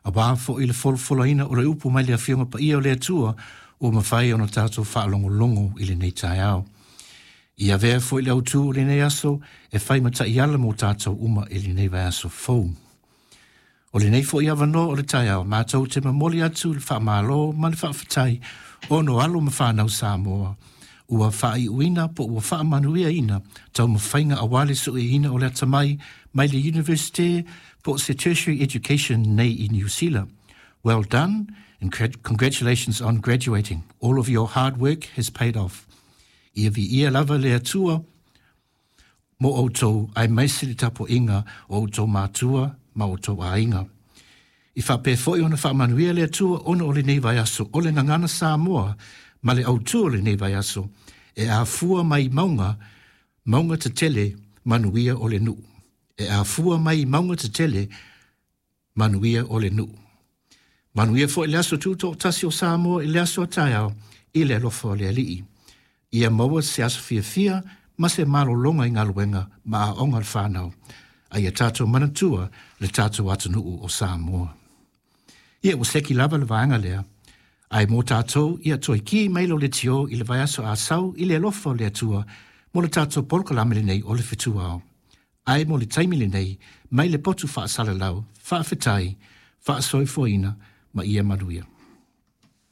Auā foi le folafolaina o le upu mai le Afioga Paia o le Atua ua mafai ona tatou faalogologo i lenei taeao. Ia avea foi le autū o lenei aso e fai ma taiala mo tatou uma i lenei vaiaso fou. O lenei foi avanoa o le taeao, matou te momoli atu le faamalo ma le faafetai ona o alo ma fanau Samoa ua faaiuina po ua faamanuiaina taumafaiga auā le sueina o le atamai mai le University po o se tertiary education nei i Niu Sila. Well done and congratulations on graduating. All of your hard work has paid off. Ia viia lava le Atua mo outou aemaise le tapuaiga o outou matua ma outou aiga. I faapea foi ona faamanuia le Atua ona o lenei vaiaso o le Gagana Samoa ma le autū o lenei vaiaso e afua mai mauga, mauga tetele manuia o le nuu. E afua mai mauga tetele manuia o le nuu. Manuia foi le aso tutoatasi o Samoa i le aso a taeao i le alofa o le Alii. Ia maua se aso fiafia ma se malologa i galuega ma aoga a le fanau, a ia tatou manatua le tatou atunuu o Samoa. Ia ua seki lava le vaega lea, ae mo tatou ia toe ki mai lou leitio i le vaiaso a sau i le alofa o le Atua mo le tatou polokalame lenei o le Fetu Ao. Ae mo le taimi lenei, mai le potu faasalalau, faafetai, faasoifuaina ma ia manuia.